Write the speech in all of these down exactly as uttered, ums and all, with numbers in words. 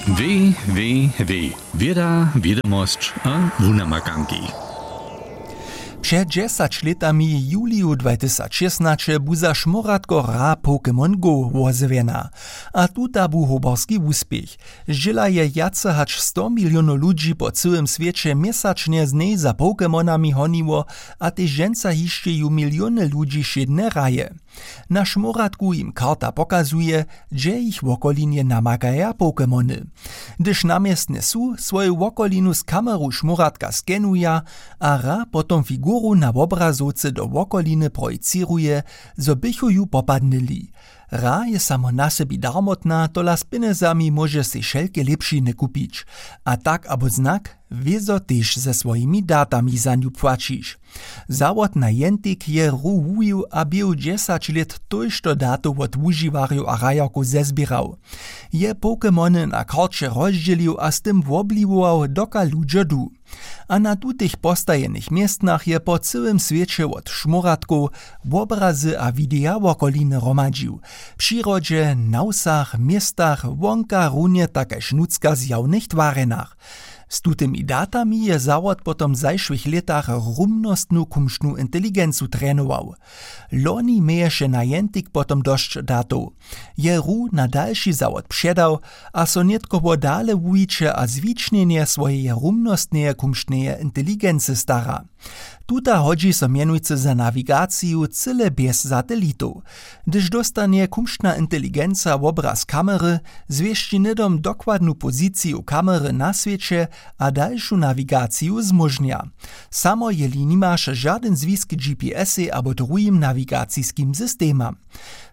W W W, wěda, wědomosć a wunamakanki. Před dźesać lětami, w juliju dwajtysac šěsnaće, bu za šmóratko hra Pokémon Go wozjewjena. A tuta bu hoberski wuspěch. Zdźěla je wjace hač sto milionow ludźi po cyłym swěće měsačnje z njej za Pokémonami honiło, a tež dźensa hišće ju miliony ludźi wšědnje hraje. Na šmóratku jim karta pokazuje, hdźe jich wokolinje namakaja Pokémony. Hdyž na městnje su, swoju wokolinu z kameru šmóratka skenuja a hra potom figuru na wobrazowce do wokoliny projicěruje, zo běchu ju popadnyli. Hra je samo na sebi darmotna, tola z pjenjezami móže sej wšelke lěpšiny kupić. A tak abo znak wězo tež ze swojimi datami za nju płaćiš. Zawod Niantic je hru wuwił a běhu dźesać lět tójšto datow wot wužiwarjow a hrajerkow zezběrał. Je Pokémony na karće rozdźělił a z tym wobliwował, doka ludźo du. A na tutych postajenych městnach je po cyłym swěće wot šmóratkow wobrazy a wideja wokoliny hromadźił. W přirodźe, na wsach, městach, wonka runje tak kaž nutřka w zjawnych twarjenach. Z tutymi datami je zawod potom w zašłych lětach rumnostnu kumštnu inteligencu trenował. Loni měješe Niantic potom dosć datow. Je hru na dalši zawod předał a so nětko wo dale wuwiće a zwičnjenje swojeje rumnostneje kumštneje inteligency stara. Tuta hodźi so mjenujcy za nawigaciju cyle bjez satelitow. Hdyž dóstanje kumštna inteligenca wobraz kamery, zwěsći hnydom dokładnu poziciju kamery na swěće a dalšu nawigaciju zmóžnja. Samo jeli nimaš žadyn zwisk k G P S-ej abo druhim nawigaciskim systemam.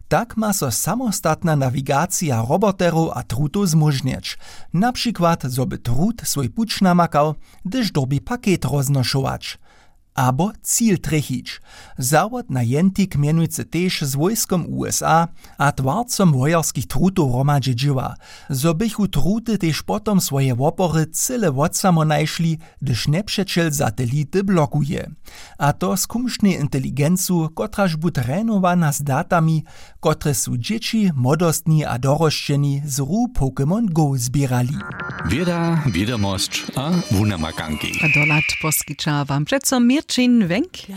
Tak ma so samostatna nawigacija roboterow a trutow zmóžnjeć, na přikład zo by trut swój puć namakał, hdyž dyrbi paket roznošować abo cil trjechić. Zawod Niantic mjenujcy tež z wójskom U S A a twarcom wojerskich trutow hromadźe dźěła, zo běchu truty tež potom swoje wopory cyle wotsamo našli, hdyž njepřećel satelity blokuje. A to z kumštnej inteligencu, kotraž bu trenowana z datami, kotrež su dźěći, młodostni a dorosćeni z hru Pokémon Go zběrali. Wěda, wědomosć a wunamakanki. A dohlad poskića wam přeco Měrćin Wenk.